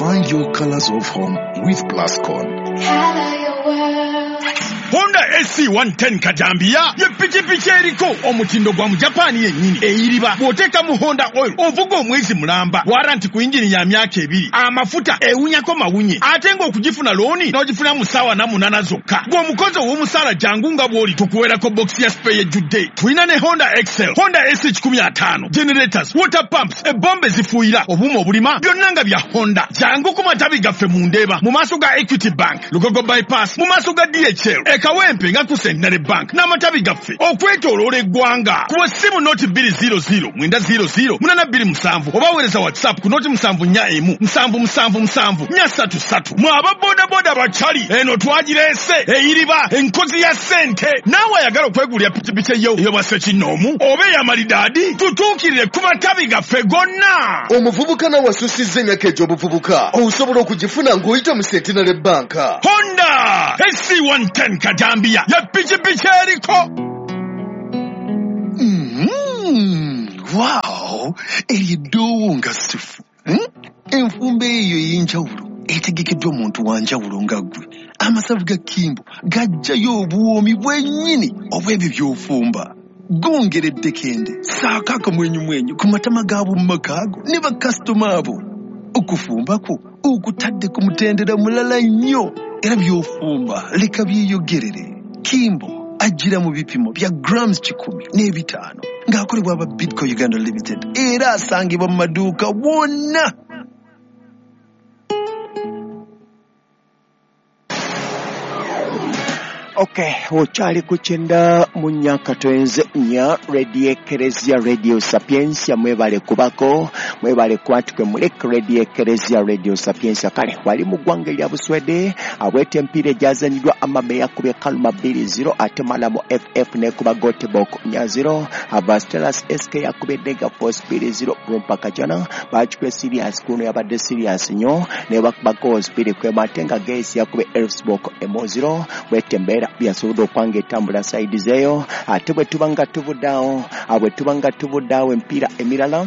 Find your colors of home with Plascon. Color your world. Honda SC110 Kajambiya ye pikipiki eriko omutindo gwa Mujapani yennyini eyiriba bw'oteeka mu Honda oil ovuga omwezi mulamba waranti ku yingini ya myaka 2 amafuta ewunyako mawunye ate ng'okugifuna looni n'ogifuna mu ssaawa 8 zokka gw'omukozi ow'omusaala jangu nga bw'oli tukuweerako bokisi ya spare ejjudde. Tulina ne Honda Excel, Honda SC105, generators, water pumps, ebombe zifuuyira, obuuma obulima byonna nga bya Honda. Jangu ku matabi gaffe mu Ndeeba mu maaso ga Equity Bank, Lugogo Bypass mu maaso ga DHL, Kawempe nga ku Centenary Bank n'amatabi gaffe okwetooloola eggwanga. Kuba essimu noti 200 900 827 oba weereza WhatsApp ku noti 741 777 433. Mwe aba bodaboda bakyali eno twagireese eyiriba enkozi ya ssente. Naawe ayagala okwegulira pikipiki eyo ey'obwa ssekinnoomu oba ey'amalidaadi tutuukirire ku matabi gaffe gonna. Omuvubuka nawe asusizza emyaka egy'obuvubuka osobola okugifuna ng'oyita mu Centenary Bank. Honda SC110 Kajambiya ya pikipiki eriko. Wow, eryo eddoowo nga ssufu. Enfumba eyo ey'enjawulo etegekeddwa omuntu wa njawulo nga ggwe. Amasavu ga Kimbo gajjayo obuwoomi bwennyini obw'ebyo by'ofumba. Gongera eddekende, ssaako akamwenyumwenyu ku matama g'ab'omu maka ago ne bakasitoma abo. Okufumba kwo okutadde ku mutendera mulala nnyo era by'ofumba leka byeyogerere. Kimbo ajjira mu bipimo bya grams 105 ng'akolebwa aba Bidco Uganda Limited era asangibwa mu maduuka wonna. Okay, okyali ku 94.4 Radio Ekereziya Radio Sapientia, mwebale kubako, mwebale kwatukwe mulek Radio Ekereziya Radio Sapientia. Kale wali mu ggwanga erya Buswede abwete empiira egyazanyiddwa Amabe yakubye Kaluma 2-0 ate Malamo FF nekuba Göteborg 4-0, Abastelas SK yakubye Dega Force 2-0, Brumpa Kajana bakikubye Sirius kuno yabadde Sirius nnyo ne bakuba goals 2-1 ate nga Geis yakubye Elfsborg 0 bwete embeera byasobodde okwanga etambula sayidi zeeyo. Ate bwe tuba nga tuvuddeawo empiira emirala.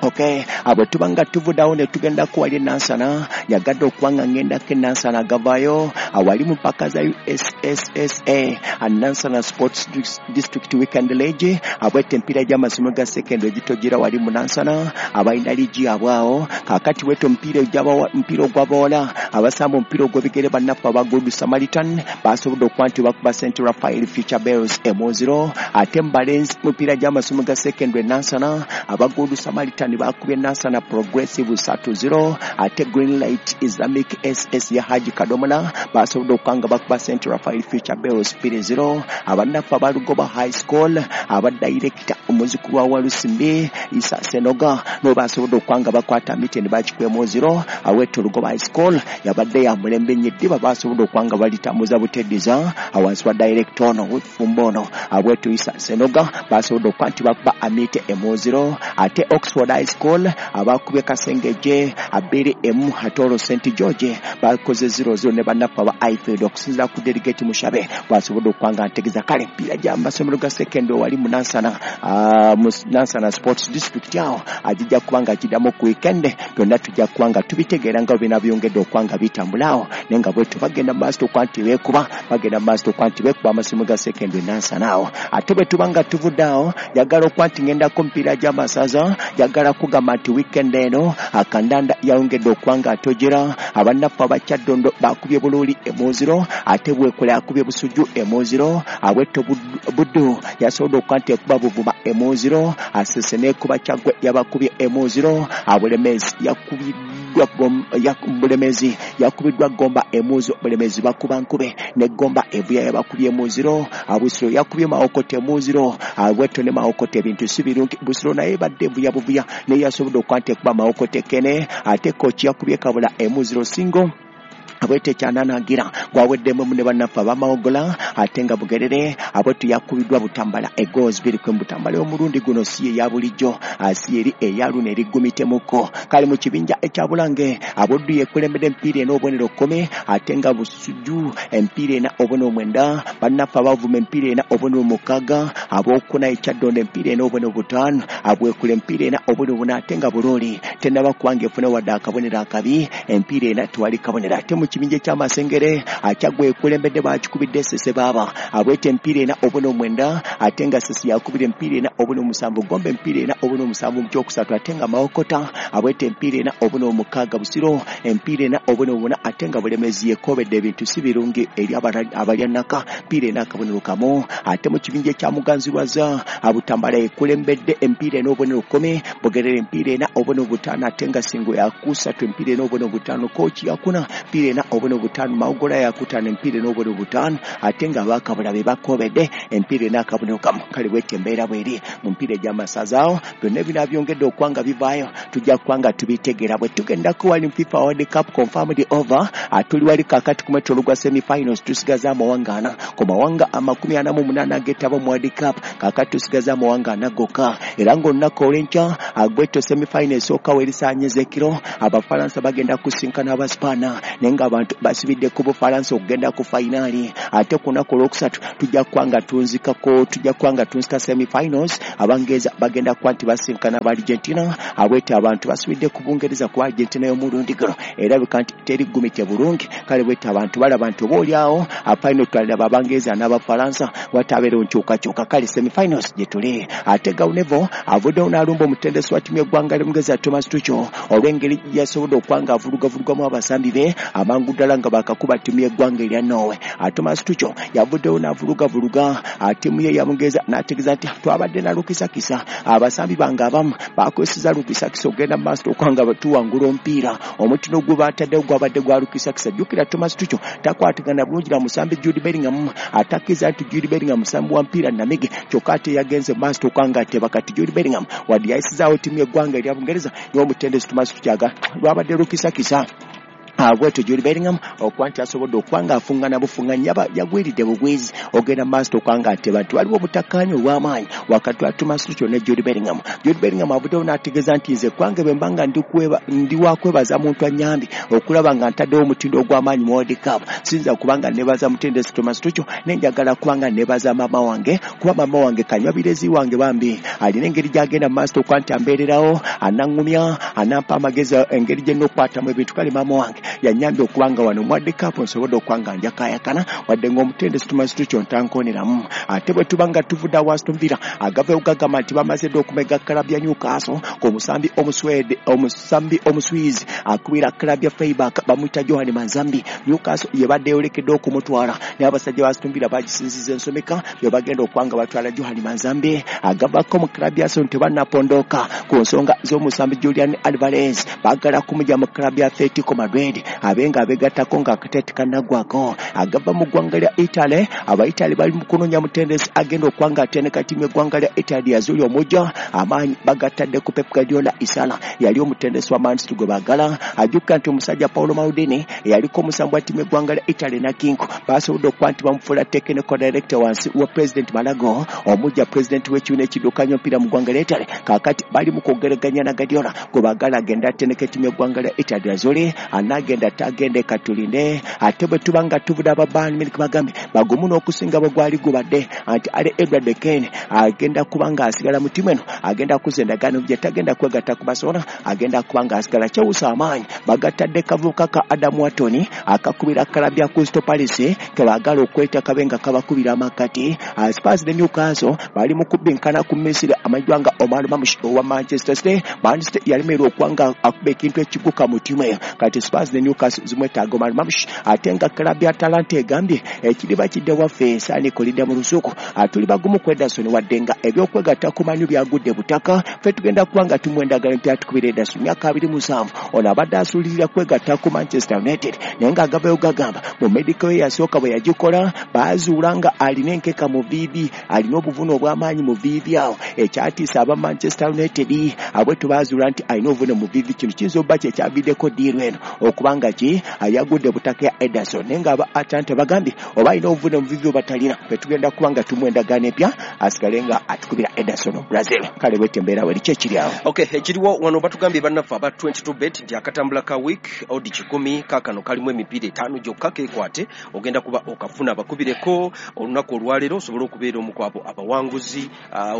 Okay, abo tubanga tuvuddawo ne tugenda kuwali Nansana, nyagadde okubanga ngendako Nansana agavaayo awali mu mpaka za USSSA Nansana Sports District Weekend League abwete empiira gy'amasomero ga secondary egitogira wali mu Nansana abalina liigi abwawo. Kaakati wete omupiira ogw'abawala abasamba omupiira ogw'ebigere bannaffe aba Good Samaritan basobodde okuba nti bakuba St Raphael Future Bells 0 ate mu balenzi mupiira gy'amasomero ga secondary Nansana aba Good Samaritan bakubye Nansana Progressive 3-0 ate Green Light Islamic SS ya Haji Kadomola basobodde okukanga bakuba St Raphael Future Bells 2-0. Abannaffe aba Lugoba High School aba director omuzukulu wa Walusimbi Isa Senoga no basobodde okukanga bakwata miti ne bakikwemu 0. Aweto Lugoba High School yabadde ya mulembe nnyo eddiba basobodde okukanga balitambuza buteddiza awansi wa director ono wefumbo ono Aweto Isa Senoga basobodde okuba nti bakuba Amite 0 ate Oxford High School abakubye Kasengeje 2-1 ate olwo St George bakoze 0-0 ne bannaffe aba Ifield okusinziira ku delegate Mushabe basobodde okukanga ntegeza. Kale empiira gy'amasomero ga secondary wali mu Nansana mu Nansana Sports District awo agijja kubanga agiddamu ku weekend byonna tujja kubanga tubitegeera nga bina byongedde okubanga bitambula awo naye nga bwetu bagenda mu maaso okuba nti beekuba bagenda mu maaso okuba nti beekuba amasomero ga secondary Nansana awo. Ate bwe tuba nga tuvudde awo njagala okuba nti ngendako mpiira gy'amasaza, njagala kugamba nti weekend eno akandanda yayongedde okuba nga atojera abannaffe abakyaddondo bakubye Buluuli 0 ate Bwekola yakubye Busujju 0 Abwetto Buddu yasobodde okuba nti ekuba Buvuma 0 Asese n'ekuba Kyaggwe yabakubye 0 Abulemezi yakubiddwa Gomba 0 Bulemezi bakuba Nkube ne Gomba Evuya yabakubye 0 Abusiro yakubye Mawokote 0 Abwetto ne Mawokote ebintu si birungi. Busiro naye badde Evuya buvuya naye yasobodde okuba nti ekuba Mawokote Kene ate Kochi yakubye Kabula 0 singo. Abwete kyananagira gwaweddemu ne bannaffe abamawogola ate nga Bugerere abwetu yakubiddwa Butambala egoals 2 ku Butambala omulundi guno si ye ya bulijjo si eri eyaluno erigumitemuko. Kale mu kibinja ekya Bulange Abuddu yekulembedde empiira ena obubonero 10 ate nga Busujju empiira ena obubonero 9, bannaffe abavuma empiira ena obubonero 6, abokuna ekyaddondo empiira ena obubonero 5, abwekula empiira ena obubonero 4 ate nga Bulooli tennaba kubanga efuna wadde akabonero akabi empiira ena tewali kabonero. Ate mu kibinja eky'Amasengere Akyagwa ekulembedde bakikubidde Ssese baaba abweta empiira ena obubonero 9 ate nga Ssese yakubira empiira ena obubonero 7, Gombe empiira ena obubonero 7 mu kyokusatu ate nga Mawokota abweta empiira ena obubonero 6, Busiro empiira ena obubonero 4 ate nga Bulemezi yekobedde ebintu si birungi eri abalyannaka mpiira ena akabonero 1. Ate mu kibinja ekya Muganzirwaza Abutambala ekulembedde empiira ena obubonero 10, Bugerere empiira ena obubonero 5 ate nga Singo yakusatu empiira ena obubonero 5, Kooki yakuna empiira ena obubonero 5, Mawogola yakutaano empiira ena obubonero 5 ate nga abakabula be bakobedde empiira ena akabonero 1. Kale bwetyo embeera bweri mu mpiira egy'amasazaawo byonna binabyongedde okuba bivaayo tujja kuba nga tubitegeera. Bwe tugendako wali FIFA World Cup confirmed over atuli wali kakati ku mwetolo gwa semi-finals tusigaza amawanga ana ku mawanga 48 agetaba mu World Cup kakati tusigaza amawanga ana gokka era ng'olunaku olw'enkya agwetyo semi-final esooka werisaanyeza ekiro Abafalansa bagenda kusinkana Abaspaana naye ng'abantu basibidde ku Bufalansa okugenda ku fayinaali. Ate ku lunaku olwokusatu tujja kuba nga tunzika semi-finals Abangereza bagenda kuba nti basinkana aba Argentina abwete abantu basibidde ku Bungereza ku Argentina y'omulundi guno erabika nti teri gumite bulungi. Kale bwete abantu balaba nti oba oliawo afaino twaliraba Abangereza n'Abafalansa watabeerewo nkyukakyuka. Kale semi-finals gye tuli. Ate Gaunevo avuddewo n'alumba omutendesi wa ttiimu y'eggwanga ly'Omungereza Thomas Tuchel olw'engeri yasobodde okuba nga avulugavulugamu abasambi be amangu ddala nga bakakuba ttiimu y'eggwanga erya Norway. Thomas Tuchel yavuddewo n'avulugavuluga ttiimu ye ya Bungereza n'ategeeza nti twabadde na lukisakisa abasambi bange abamu bakozesa lukisakisa okugenda mu maaso okuba nga tuwangula omupiira omutino gwe bataddewo gwabadde gwa lukisakisa. Jjukira Thomas Tuchel takwatagana bulungi na musambi Jude Bellingham atakkiriza nti Jude Bellingham musambi wa mpiira namige kyokka ate yagenze mu maaso okuba nga ateba. Kati Jude Bellingham wadde yayisizaawo ttiimu y'eggwanga erya Bungereza n'omutendesi Thomas Tuchel lwabadde lukisakisa bwetyo Jude Bellingham okuba nti asobodde okuba nga afungana bufunganya yagwiridde bugwizi ogenda mu maaso okuba nga ateba nti waliwo obutakkaanya obw'amaanyi wakati wa Thomas Tuchel ne Jude Bellingham. Jude Bellingham avuddewo n'ategeeza nti nze kwange bwe mba nga ndi wakwebaza muntu annyambye okulaba nga ntaddewo omutindo ogw'amaanyi mu World Cup siyinza kuba nga neebaza mutendesi Thomas Tuchel naye njagala kuba nga neebaza maama wange kuba maama wange kanywabirezi wange bambi alina engeri gy'agenda mu maaso okuba nti ambeererawo anaŋŋumya anampa amagezi engeri gye nnokukwatamu ebintu. Kale maama wange yanyambye okuba nga wano mu World Cup nsobodde okuba nga njakayakana wadde ng'omutendesi Thomas Tuchel ntankooneramu. Ate bwe tuba nga tuvudde awo Aston Villa agavayo gagamba nti bamaze dda okumega club ya Newcastle ku musambi Omuswede omusambi Omuswizi akubira club ya Freiburg bamuyita Johan Manzambi. Newcastle yebadde yolekedde okumutwala naye abasajja ba Aston Villa bagisinziza ensomeka bye bagenda okuba nga batwala Johan Manzambi agavako mu club ya Arsenal tebannapondoka ku nsonga z'omusambi Julian Alvarez baagala kumugya mu club ya Atletico Madrid abenga abegattako nga akatete kannaggwako. Agava mu ggwanga lya Italy Abaitaly bali mu kunoonya mutendesi agenda okuba nga atendeka ttiimu y'eggwanga lya Italy yazuli omujja amaanyi bagatadde ku Pep Guardiola Isala yali omutendesi wa Man City gwe baagala. Ajjukira nti omusajja Paolo Maldini eyaliko omusambi wa ttiimu y'eggwanga lya Italy na Kinko basobodde okuba nti bamufuula technical director wansi wa President Malago omujja president w'ekibiina ekiddukanya omupiira mu ggwanga lya Italy. Kaakati bali mu kwogeraganya na Guardiola gwe baagala agenda atendeka ttiimu y'eggwanga lya Italy yazuli anagenda tagende katulinde. Ate bwe tuba nga tuvudde aba Bayern Munich bagambye bagumu n'okusinga bwe gwali gubadde anti Ale Edward Kane agenda kuba nga asigala mu ttiimu eno agenda kuza endagaano gye tagenda kwegatta ku Barcelona agenda kuba nga asigala kyewusa amaanyi bagatadde kavubuka ka Adam Wharton akakubira club ya Crystal Palace ke baagala okweta kabe nga kabakubira amakati. Spurs ne Newcastle bali mu kubbinkana ku Misiri amanyiddwa nga Omar Marmoush owa Manchester City. Man City yalemererwa okuba nga akuba ekintu ekiguka mu ttiimu eyo kati Spurs ne Newcastle zimwetaaga Omar Marmoush. Ate nga club ya Atalanta egambye ekiriba kidde waffe ensaani kolidde mu lusuku atuli bagumu ku Ederson wadde nga ebyokwegatta ku Man U byagudde butaka ffe tugenda kuba nga tumwendagala nti atukubira Ederson myaka 27 ono abadde asuulirira kwegatta ku Manchester United naye ng'agavayo gagamba mu medical ye yasooka bwe yagikola baazuula nga alina enkeka mu viivi alina obuvune obw'amaanyi mu viivi awo ekyatiisa aba Manchester United abwetu baazuula nti alina obuvune mu viivi kino kiyinza obba kyekyaviddeko ddiiru eno okuba okuba nga ki ayagudde butaka ya Ederson, naye nga aba Atalanta bagambye oba alina obuvune omuvivi oba talina, ffe tugenda kuba nga tumuwa endagaano empya asigale nga atukubira Ederson of Brazil. Kale bwete embeera weri ki ekiri awo? Okay, ekiriwo wano batugambye bannaffe aba 22 bet nti akatambula ka week odi 100 kaakano kalimu emipiira 5 gyokka, kekwate ogenda kuba okafuna. Bakubireko olunaku olwaleero osobole okubeera omu ku abo abawanguzi,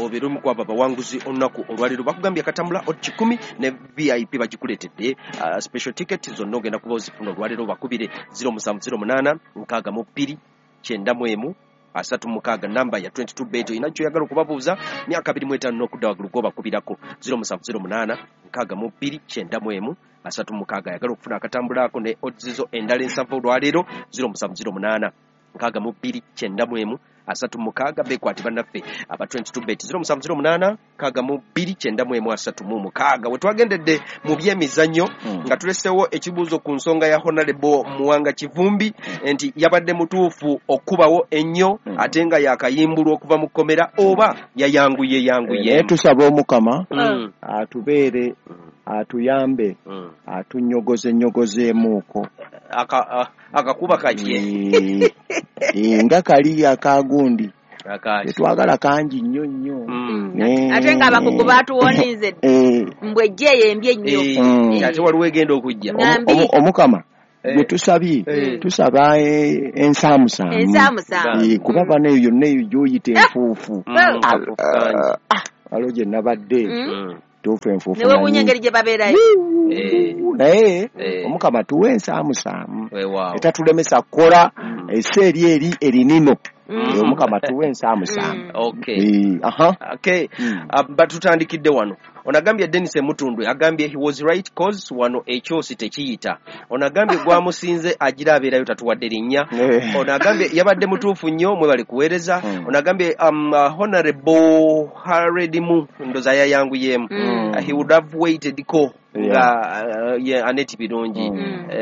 obeere omu ku abo abawanguzi olunaku olwaleero. Bakugambye akatambula odi 100 ne VIP bagikuleetedde, special ticket zonna ogenda kuba ozifuna olwaleero. Bakubire 0708 62 91 36, namba ya 22 bet. Olina kyoyagala okubabuuza, myaka 25 n'okudda waggulu gwobakubirako 0708 62 91 36. Ayagala okufuna akatambula ako ne odds zo endala ensanvu olwaleero, 0708 62 91 36. Bekwate bannaffe aba 22 bet, 0708 62 91 36. We twagendedde mu byemizannyo nga tulesewo ekibuuzo ku nsonga ya Honorable Muwanga Kivumbi nti yabadde mutuufu okubawo ennyo ate nga yakayimbulwa okuva mu kkomera oba yayanguye yanguye? Naye tusaba Omukama atubeere, atuyambe, atunyogoze nyogozeemuuko. Akakuba kajye. Nga kali akagundi Akaki. Tetwagala kangi nnyo nnyo. Ate ng'abakugu baatuwoninze mbwe ejje eyo embi ennyo. Ate waliwo egenda okujja. Ngambi. Omukama gwe tusabye, tusaba ensaamusaamu. Ensaamusaamu. Kuba bano eyo yonna eyo gy'oyita enfuufu. Akafuufu kangi. Waliwo gye nabadde tuufu enfuufu Newewuunya nanyi. engeri gye babeerayo. Naye Omukama tuwe ensaamusaamu Weewaawo. etatulemesa kukola ese eri erinino. Omukama tuwe ensaamusaamu. Okay. Aha. Okay. Batutandikidde wano. Onagambye Dennis Emutundwe agambye he was right, cause wano ekyosi tekiyita. Onagambye gwamusinze agira abeerayo tatuwadde linnya. Ono agambye yabadde mutuufu nnyo, mwebale kuweereza. Ono agambye Honorable Haredimu ndoza yayanguyemu. He would have waited ko nga ye Aneti Birungi.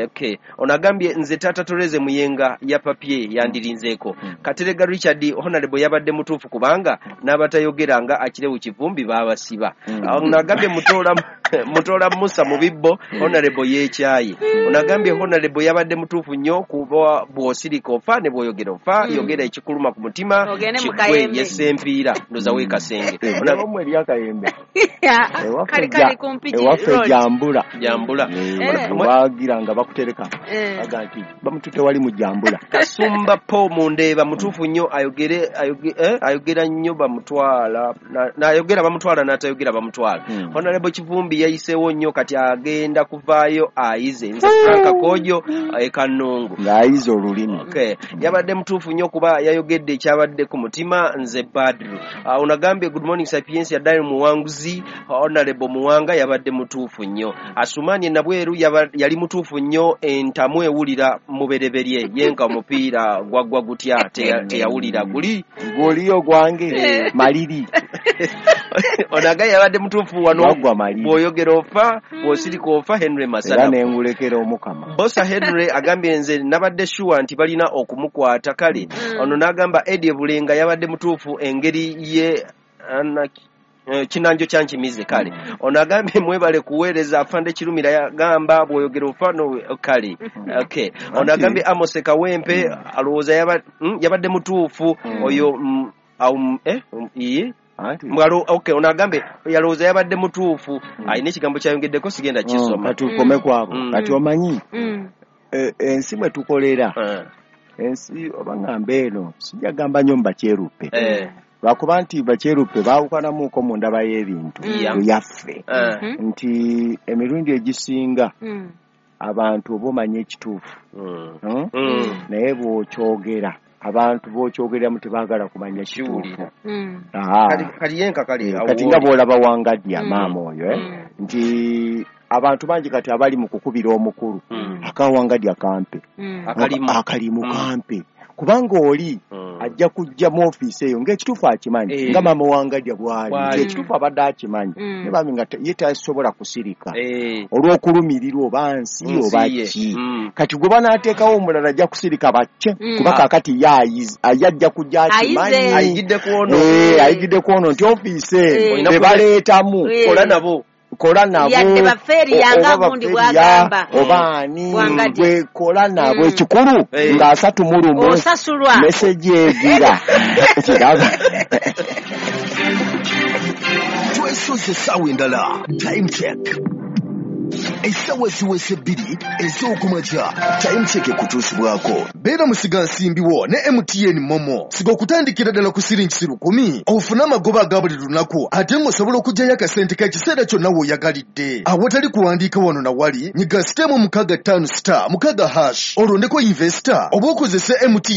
Okay. Ono agambye nze Tata Toreze Muyenga ya papye yandirinzeeko. Katerega Richard, Honorable yabadde mutuufu kubanga n'abatayogera nga Akirewu Kivumbi baabasiba. Ono agambye Mutola Musa mu bibbo, Honorable yeekyaye. Ono agambye Honorable yabadde mutuufu nnyo kuba bw'osirika ofa ne bw'oyogera ofa, yogera ekikuluma ku mutima Ogende mu kigwe. Kayembe. Yesempiira ndoza weekasenge. Omwe eri Akayembe. Ewaffe Kali kali kumpi ewaffe road. Jambula. Jambula. Bagira nga bakutereka baga nti bamutute wali mu Jambula. Kasumba Po Mundeeba mutuufu nnyo, ayogere ayogera nnyo bamutwala n'ayogera bamutwala n'atayogera bamutwala. Honorable Kivumbi yayiseewo nnyo, kati agenda kuvaayo ayize. Nze Franka Kojo e Kanungu. Ng'ayize olulimi. Okay. Yabadde mutuufu nnyo kuba yayogedde ekyabadde ku mutima. Nze Badru. Onagambye good morning Sapiens yaddayo muwanguzi. Honorable Muwanga yabadde mutuufu nnyo. Asumani Nabweru yali mutuufu nnyo, entamu ewulira mubereberye yenka omupiira gwaggwa gutya teyawulira guli. Goliyo gwange maliri. Onaga yabadde mutuufu wano. Waggwa maliri. Bw'oyogera ofa, bw'osirika ofa. Henry Era Masana nengulekera Omukama. Bosa Henry agambye nze nabadde sure nti balina okumukwata. Kale ono n'agamba Eddie Bulenga yabadde mutuufu engeri ye kinanjo kyankimize. Kale ono agambye mwebale kuweereza. Afande Kirumira yagamba bw'oyogera ofa no. Kale okay, ono agambye Amos Kawempe alowooza yabadde mutuufu oyo iye Anti Mwalo, okay, ono agambye yalowooza yabadde mutuufu, alina ekigambo kyayongeddeko sigenda kisoma. Kati ukome kwabo. Kati omanyi ensi mwe tukolera, ensi oba ŋŋamba eno sijja gamba nnyo mu bakyeruppe, lwakuba nti bakyeruppe baawukanamuuko mu ndaba y'ebintu eyaffe, nti emirundi egisinga abantu oba omanya ekituufu, Naye bw'okyogera abantu b'okyogereramu tebaagala kumanya kituufu. Kiwulira. Aha. Kali yenka kale awo Kati nga wooli. bw'olaba Wangadya maama oyo, nti abantu bangi kati abali mu kukubira omukulu akawangadya kampe. Akalimu. Akalimu kampe, kubanga oli ajja kujja mu ofiisi eyo ng'ekituufu akimanyi, nga maama Wangadya bw'ali Bw'ali. nti ekituufu abadde akimanyi, ne bambi nga ye tasobola kusirika olw'okulumirirwa oba nsi Nsi oba ye. ki. Kati gwe banaateekawo omulala ajja kusirika bakke, kuba kaakati ye ajja kujja akimanyi. Ayize. Ayigidde ku ono. Ayigidde ku ono nti ofiisi eno Olina bebaleetamu kola nabo. Kola nabo. Yadde bafeeriya nga Oba gundi bafeeriya, bw'agamba. oba ani Bwangadya. gwe kola nabo. Ekikulu nga 31 Osasulwa. Meseji egira kiraba. Twesoze essaawa endala, Time Check. Essaawa ziweze 2 ez'okumakya. Time Check ekutuusibwako beera musiga nsimbiwo ne MTN MoMo. Siga okutandikira ddala ku siringi 1,000 ofune amagoba aga buli lunaku, ate ng'osobola okuggyayo akasente k'ekiseera kyonna w'oyagalidde awatali kuwandiika wano na wali. Nyiga star 656*6# olondeko investor oba okozese MTN.